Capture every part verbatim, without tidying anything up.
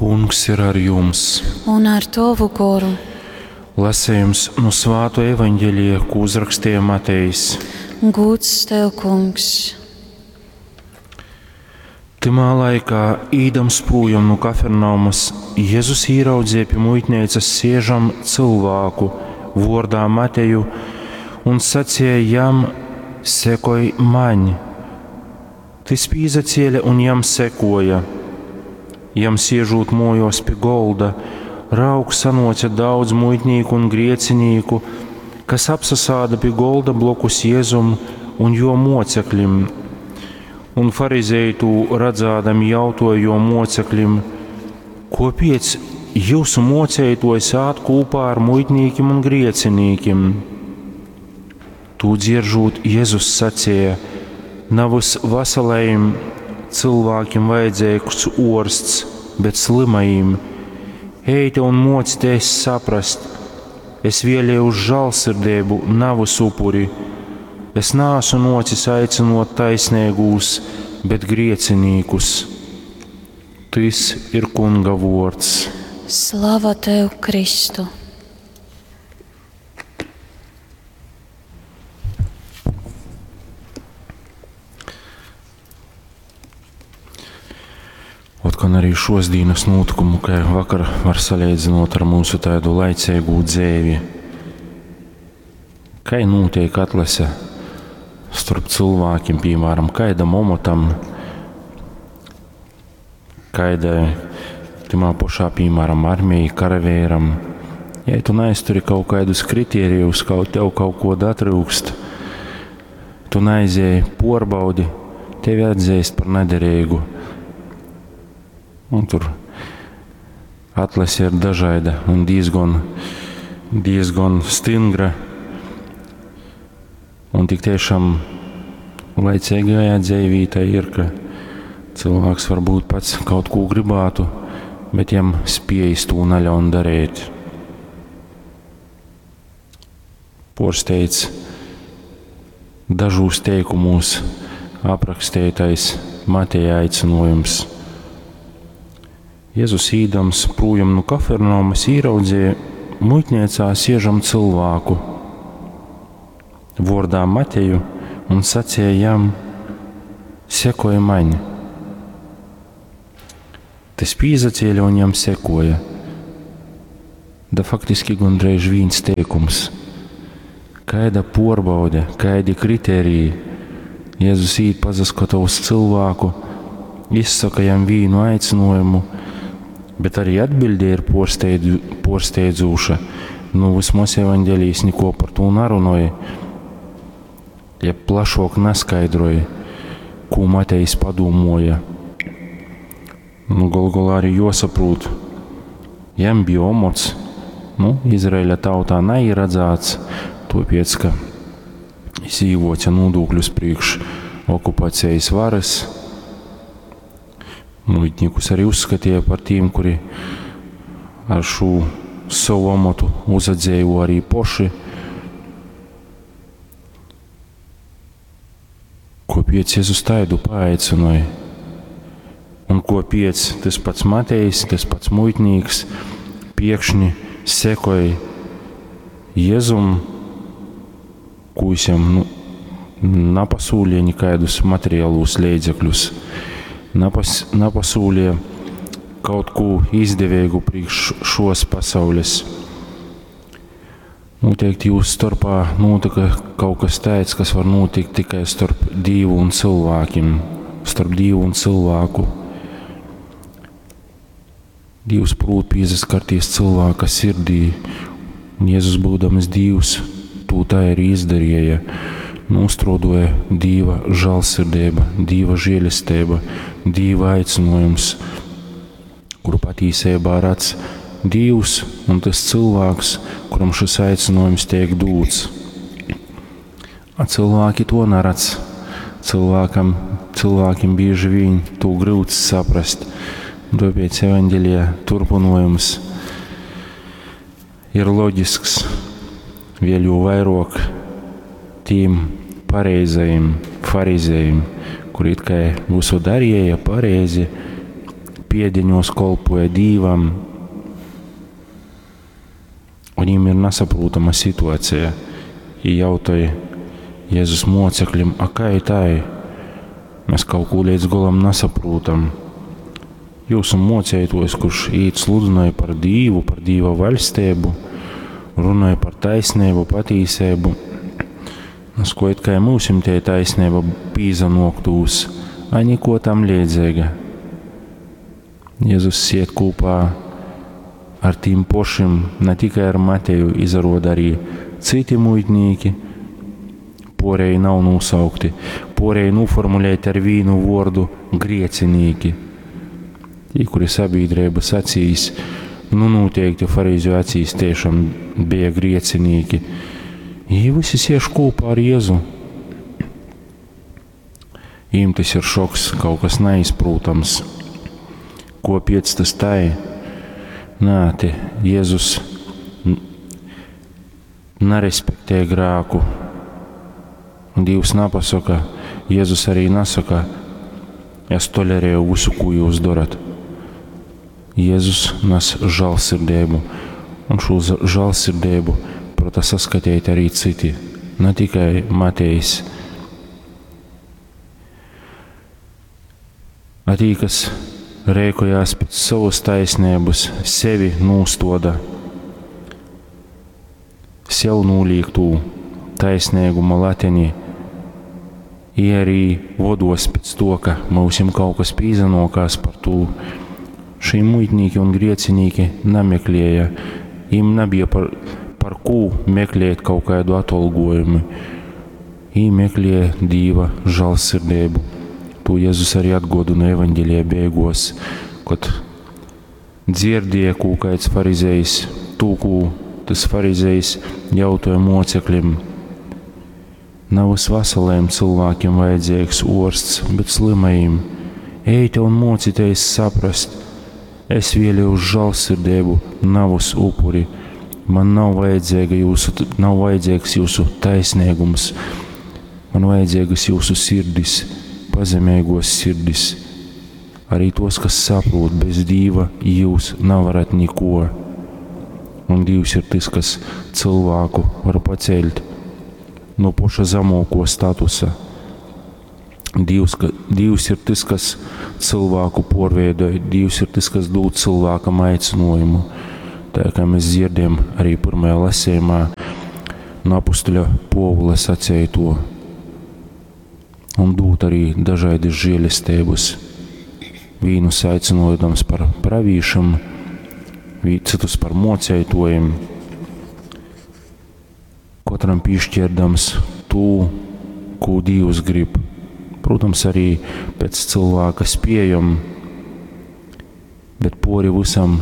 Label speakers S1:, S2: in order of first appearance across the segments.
S1: Kungs ir ar jums!
S2: Un ar tovu goru.
S1: Lasījums no Svāto evaņģēlija, ko uzrakstīja Matejs.
S2: Gūds tev, Kungs!
S1: Tymā laikā, īdams prūjom nu Kafernaumas, Jezus īraudzīja pie muitnīcas siežam cilvēku vordā Mateju un sacīja jam: Sekoj maņ! Tys pīzacēla un jam sekoja. Jam siežūt mojos pie golda, raug sanoca daudz muitnīku un griecinīku, kas apsasāda pie golda blokus Jēzum un jo moceklim. Un farizēji tū redzādami jautoja jo moceklim: Kopiec jūsu mocētojs ād kopā ar muitnīkim un griecinīkim? Tū dzieržūt, Jēzus sacīja: Navys veselajim cilvēkiem vajadzīgs orsts, bet slimajiem. Eite un mocieties saprast, es vēlēju uz žālsirdību, navys upuri. Es nāsu nocis aicinot taisnīgūs, bet griecinīkus. Tys ir Kunga vārds.
S2: Slava tev, Kristu!
S1: Otkon arī šos dienas notikumu, kā vakar var salīdzinot ar mūsu tādu laicīgu dzēvi. Kā notiek atlase starp cilvēkiem, piemēram, kaidam omotam, kaidai timā pašā, piemēram, armijai, karavēram. Ja tu neizturi kaut kādus kritērijus, kaut tev kaut ko datrūkst, tu neaizēji porbaudi, tevi atzīst par nederīgu. Un tur atlase ir dažāda un diezgan, diezgan stingra. Un tik tiešām laicīgajā dzīvī tā ir, ka cilvēks varbūt pats kaut ko gribētu, bet jam spējas to neļaun darīt. Porsteidz dažūs teikumos aprakstītais Mateja aicinājums. Jēzus īdams prūjam no Kafernaumas īraudzīja muitniecā siežam cilvēku vordā Mateju un sacīja jam: Sekoja maņ. Tas pīzacēla un jam sekoja. Da faktiski gandrīz viens teikums. Kaida porbaude, kaidi kriteriji. Jēzus īt pazaskata uz cilvēku, izsaka jam vīnu aicinājumu, bet arī atbilde ir porsteidzu, porsteidzoša. Nu, vismaz evaņģēlijs neko par to nerunāja, ja plašāk neskaidroja, ko Matejs padomāja. Nu, galu galā arī jāsaprot, jam bija omots, nu, Izraēļa tautā neieradzāts, tāpēc, ka es īvoca nodokļus priekš okupācijas varas. Muitniekus arī uzskatīja par tiem, kuri ar šo savu amatu uzadzējo arī poši. Kopiec Jēzus taidu paaicināja? Un kopiec tas pats Matejs, tas pats muitnīks piekšņi sekoja Jēzum, ko jis jam, nu, napasūlīja nekādus materiālus līdzekļus, napas, napasūlīja kaut ko izdevīgu priekš šos pasaules. Noteikti jūsu starpā notika kaut kas tāds, kas var notikt tikai starp Dievu un cilvēkiem, starp Dievu un cilvēku. Dievs prot pieskarties cilvēka sirdī, un Jēzus būdams Dievs, to tā arī izdarīja. Nostrodoja Dieva žēlsirdība, Dieva žēlastība, Dieva aicinājums, kuru patiesībā redz Dievs un tas cilvēks, kuram šis aicinājums tiek dots. A cilvēki to neredz. Cilvēkam, cilvēkiem bieži vien to grūti saprast. Un tāpēc evaņģēlija turpinājums ir loģisks, vēl jo vairāk tiem pareizajiem farizējiem, kuri it kā visu darīja pareizi, piedeņos kolpoja Dīvam, un viņiem ir nesaprotama situācija. Viņi jautāja Jēzus mocekļiem, a kā tai? Mēs kaut ko līdz galam nesaprotam. Jūsu mocētojs, kurš īt sludināja par Dīvu, par Dīva vaļstību, runāja par taisnību, patīsību. Nas, ko it kā mūsim tie taisnība pīzanoktūs, a niko tam liedzīga. Jēzus siet kopā ar tīm pošim, ne tikai ar Mateju, izarod arī citi muitnīki, porēji nav nosaukti, porēji noformulēti ar vīnu vordu griecinīki. Tī, kuri sabiedrības acīs, nu noteikti farīzu acīs tiešām bija griecinīki. Jī visi siež kopā ar Jēzu. Viņiem tas ir šoks, kaut kas neizprotams. Ko piec tas tai? Nē, te Jēzus nerespektē grēku. Un Dievs nepasaka, Jēzus arī nesaka, es tolerēju visu, ko jūs darat. Jēzus nes žēlsirdību, un šo žēlsirdību prata saskatīt arī citi, ne tikai Matejs. A tī, kas rēkojās pēc savas taisnības, sevi nūstoda, sev nūlīk tū taisnīguma lateni, i arī vodos pēc to, ka mūsim kaut kas pīzanokās par tū. Šī muitnīki un griecinīki nameklēja, им nebija par, par ko meklēt kaut kādu atolgojumu. Viņi meklēja Dieva žēlsirdību. To Jēzus arī atgodina evaņģēlijā beigos, kad dzirdēja, ko kāds farizējs, to, ko tas farizējs jautāja mocekļiem. Nav veseliem cilvēkiem vajadzīgs orsts, bet slimajiem. Ejte un mocieties saprast. Es vēlēju žēlsirdību, navus upuri. Man nav vajadzīga jūsu, nav vajadzīgs jūsu taisnīgums. Man vajadzīgas jūsu sirdis, pazemīgos sirdis. Arī tos, kas saprot, bez Dieva jūs nevarat neko. Un Dievs ir tas, kas cilvēku var paceļt no poša zemāko statusa. Dievs, ka, Dievs ir tas, kas cilvēku porveidoja, Dievs ir tas, kas dod cilvēkam aicinājumu. Tā kā mēs dzirdam arī pirmajā lasījumā no apustuļa Povula sacīja to. Un dot arī dažādas žēlestības. Vīnus aicinojams par pravīšam, citus par mocētojiem. Katram piešķirdams to, ko Dievs grib. Protams, arī pēc cilvēka spējam, bet pori visam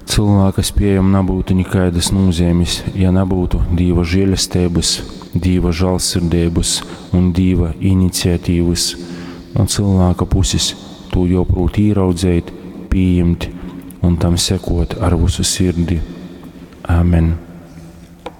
S1: cilvēka spējam nebūtu nekādas nozīmes, ja nebūtu Dieva žēlestības, Dieva žēlsirdības un Dieva iniciatīvas. No cilvēka puses to joprot ieraudzēt, pieņemt un tam sekot ar visu sirdi. Amen.